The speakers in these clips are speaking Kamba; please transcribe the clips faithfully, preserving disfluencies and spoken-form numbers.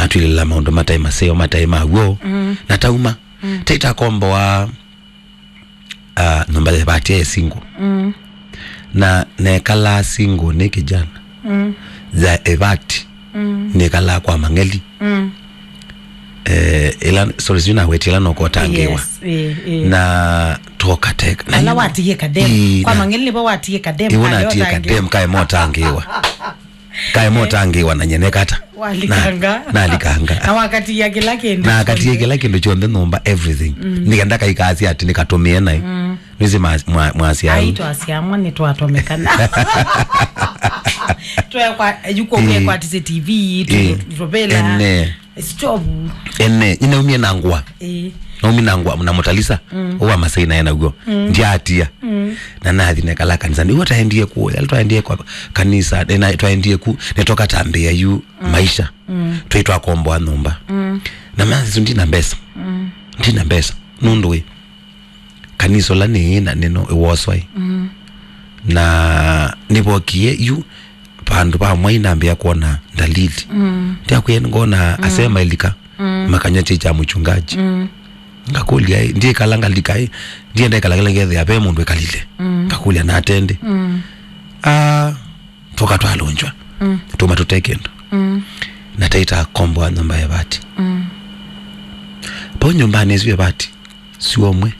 twilĩla maũndũ mataĩ maseo, mataĩ ma w'o, mm, na tauma. Mm. Taitakomboa, ah, nyũmba ya ĩvati ya single. Mm. Na nekalaa single nĩ kijana. Mm. Ya ĩvati. Mm. Nĩkalaa kwa Mang'eli. Mm. Eh, ila, sorry, sijui naweti ila nokotangĩwa. Yes, eh, eh. Na tokateka. Na ala yu- watiie kadem. Ii, kwa na- Mang'eli nĩvo watiie kadem, iwo kayo natie tangĩwa. Kadem kae motangĩwa. Kae motangĩwa na nyenekata. Walikanga. Na, nalikanga. Na wakatia kĩla kĩndũ. Na akatie kĩla kĩndũ kyonthe nyũmba, everything. Mm. Nĩkenda kaikasya ati nĩkatũmĩe naĩ. Mm. Nĩsĩ mwa-, mwa-, mwasya. Aitũ asyamwa nĩtwatomekana. Twekwa, yuko, eh, kwatise T V, tu-, eh, tupela. Ene. Stop. Ene, ninaumie na ngwa. Eh. Naumie na ngwa, na mũtalisa. Mm. Uwa Masai naye naguo. Mm. Ndiatia. Mm. Na nathi nekala kanisa. Nĩguo taendie ku, yali twaendie kwa kanisa, na twaendie ku, nĩtokatambĩa yu, mm, maisha. Mm. Twĩ twakomboa nyũmba. Mm. Na masu ndina mbesa. Mm. Ndina mbesa. Nũndũ wĩ. Kanisa ũla nĩ na nĩno ĩwoswaĩ. Mm. Na nĩvokie yu, vandũ vamwe inambĩa kwona ndalili. Mm. Ndyakwĩa ngona, mm, asema ilika, mm, makanywa chai cha mchungaji. Mm. Ngakũlya, "Ĩ, ndiĩkala ngalika, ĩ, ndienda ĩkala kĩla ngethĩa ve mũndũ ĩkalile." Mm. Ngakũlya, "Natende." Mm. Ah, tũka twalũnjwa. Mm. Tuma tũte kĩndũ. Mm. Na taita komboa nyũmba ya vati. Mm. Pau nyũmbanĩ ĩsu ya vati, syomwe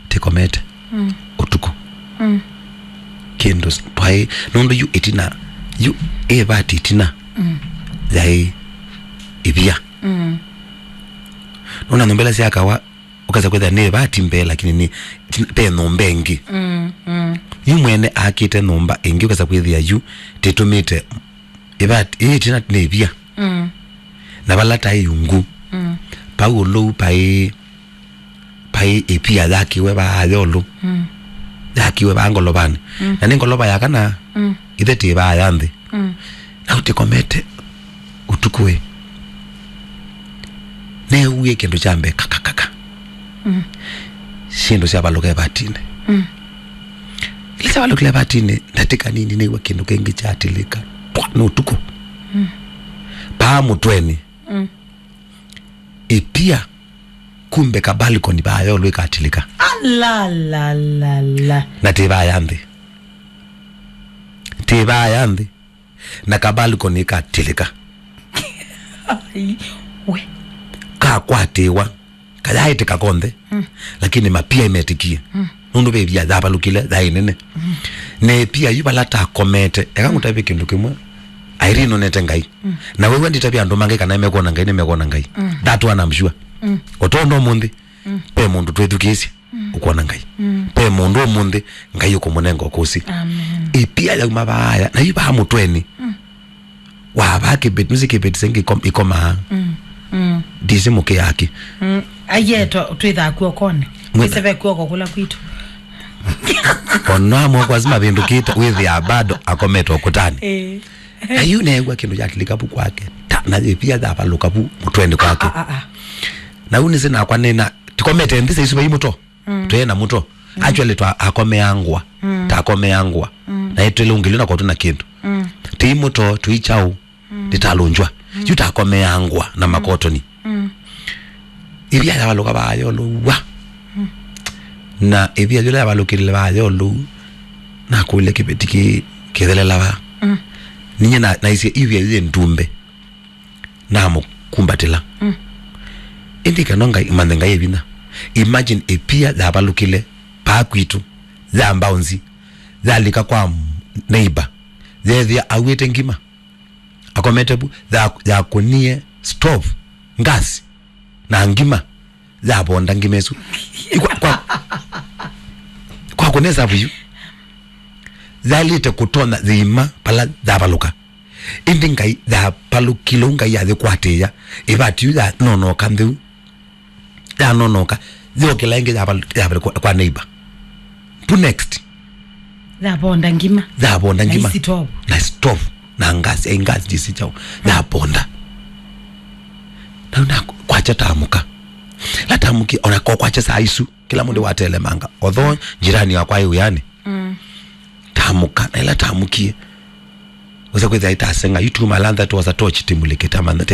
tĩkomete, mm, ũtukũ. Mm. Kĩndũ s-, twaĩ, nũndũ yu ĩtina, yu ĩvati ĩtina, mm, yaĩ ĩvia. Mm. Nũna nyũmba ila syakawa, ũkasa kwĩthĩa nĩ ĩvati mbee, lakini nĩ ĩtina, ve nyũmba ĩngĩ. Mm, mm. Yu mwene akĩte nyũmba ĩngĩ, ũkasa kwĩthĩa yu tĩtũmĩte ĩvati, ĩĩ ĩtina nĩ ĩvia. Mm. Na vala taĩ ungu. Mm. Pau ũlũu paĩ, paĩ ĩpia yakiwe vaa yolũ. Mm. Yakiwe vaa ngolovanĩ. Mm. Na nĩ ngolova ya kana, mm, ithe tĩ vaa ya nthĩ. Mm. Na ũtĩkomete ũtukũ ĩ. Neewie kĩndũ kya mbee kakakaka. Mm. Syĩndũ syavalũka ĩvatinĩ. Mm. Ila syavalũkile ĩvatinĩ, ndatĩka nini nĩw'a kĩndũ kĩngĩ kyatilĩka. Pwa, nĩ ũtukũ. Mm. Paa mũtwenĩ. Mm. Ĩpia, kumbe ka balcony vaa yolũ ĩkatilĩka. Ala, la, la, la. Na tĩ vaa ya nthĩ. Tĩ vaa ya nthĩ. Na ka balcony katilĩka. Ai, we. Kakwatĩwa. Kayaĩtĩka konthe. Mm. Lakini mapia imetĩkie. Mm. Nũndũ ve ĩvia yavalũkile, yaĩ nene. Mm. Na ĩpia yu vala takomete. Eka ngũtavye kĩndũ kĩmwe. Irene nonete Ngai. Mm. Na wew'a nditavya andũ ma Ngai kana mekwona Ngai, nĩmekwona Ngai. Mm. That one I'm sure. Mm. Ũtondo ũmũnthĩ. Mm. Ve mũndũ twĩthukĩĩsye. Mm. Ũkwona Ngai. Mm. Ve mũndũ ũmũnthĩ, Ngai ũkũmũnenga ũkũsĩ. Amen. Ĩpia yauma vaaya, na yu vaa mũtwenĩ. Mm. Wa vaa kĩveti, nũsĩ kĩveti sengĩ ikom-, ikomaa. Mm. Mm. Ndisi mũkĩaki. Mm. Aiye to, twĩthaa kuokonĩ. Mwĩtha- Ĩseve kuoko kũla kwitũ. Ona amwe kwa sima vĩndũkĩte, wĩthĩa bado akomete ũkũtanĩ. Eh. Na yu neew'a kĩndũ kyatilĩka vu kwake. Ta, na ĩpia yavalũka vu mũtwenĩ kwake. Ah, ah, ah, ah. Na yu nĩsĩ nakwa nĩna, tikomete nthĩ saisu vai mũto. Mm. Twĩ na mũto. Mm. Actually, twa akomea ngwa. Mm. Takomea ngwa. Mm. Na ĩtwĩle ũngĩlĩ na kwatũ na kĩndũ. Mm. Tĩ mũto, tũi chau. Mm. Ndĩtalũnjwa. Mm. Yu takomea ngwa na, mm, makotoni. Mm. Ĩvia yavalũka vaa yolũwa. Mm. Na ĩvia yũla yavalũkĩlile vaa yolũu, nakũlya kĩveti kĩ kĩthelela vaa. Mm. Ninye na, naisye ĩvia yĩ ndumbe. Namũkumbatĩla. Mm. Ĩndĩ kana Ngai, manthe Ngai e vinya. Imagine ĩpia yavalũkĩle paa kwitũ, ya mbaũnzi, yalika kwa neighbor, yethĩa auĩte ngima. Akomete vu, ya, yakũnie stove, gas, na ngima, yavonda ngima ĩsu. Kwa, kwa, kwa kũnesa vu yu. Yaĩlĩte kũtonya yĩima vala yavalũka. Ĩndĩ Ngai yavalũkile ũu, Ngai yayĩkwatĩĩa. Ĩvati yu yanonoka ntheu. Yanonoka. Yokĩla ĩngĩ yaval-, yavalũka kwa, kwa neighbor. Pu next. Yavonda ngima. Yavonda ngima. Na stove. Na stove. Na gas, eh, gas jisi chao. Yavonda. Na, na kwakya tamũka. La tamũkie, ona ko kwakya saa isu. Kĩla mũndũ watelemanga. Although jirani wakwa e wĩanĩ. Mm. Tamũka, na ĩla tamũkie. Ũsa kwĩthĩa ĩtaseng'a, yu tuma lantha twosa tochi timulĩkĩte amantha.